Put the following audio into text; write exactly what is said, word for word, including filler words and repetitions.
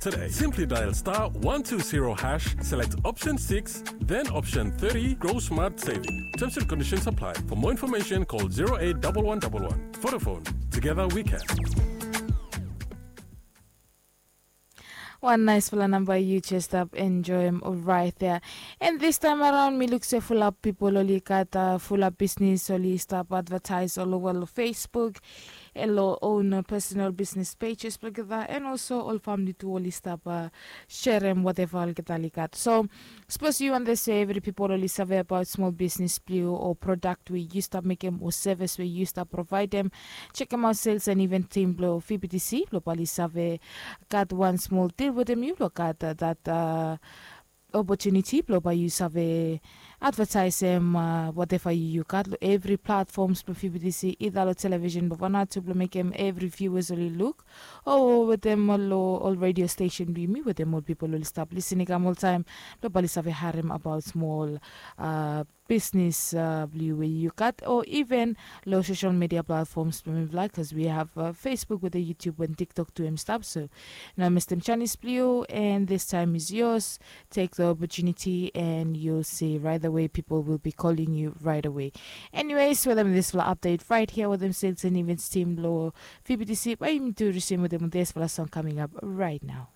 today. Simply dial star one two zero hash, select option six, then option thirty, Grow Smart Saving. Terms and conditions apply. For more information, call zero eight double one double one. Vodafone, together we can. Wan naisfala namba yu jes stap enjoem right there. And this time around mi luk se fulap pipol oli gat fulap bisnis oli stap advertais ol ova long Facebook, long own personal bisnis pages blong olgeta, and also ol famili tu oli stap serem wateva olgeta oli gat. So sapos yu wantem se evri pipol oli save abaot smol bisnis blong yu o prodak we yu stap mekem o sevis we yu stap provaedem, jekemaot sales and event team blong V B T C blong bae oli save gat wan smol dil wetem yu blong gat dat opotuniti blong bae yu save advetaesem wateva yu gat long evri platfoms blong V B T C, ida long televisin blong Vanuatu blong mekem evri viewers oli luk, o wetem ol redio stesen blong yumi wetem ol pipol oli stap lisin i kam oltaem blong bae oli save harem abaot smol bisnis blong yu we yu gat, o iven long sosel media platfoms blong mifala, bikos wi have Facebook wetem YouTube and TikTok tu hem i stap. So no mestem janis blong yu, and this time is yours. Take the opportunity and you'll see right away people will be calling you right away. Anyways, wetem disfala update right here wetem sales and events team long V B T C, bae yumi tu resume wetem disfala song coming up right now.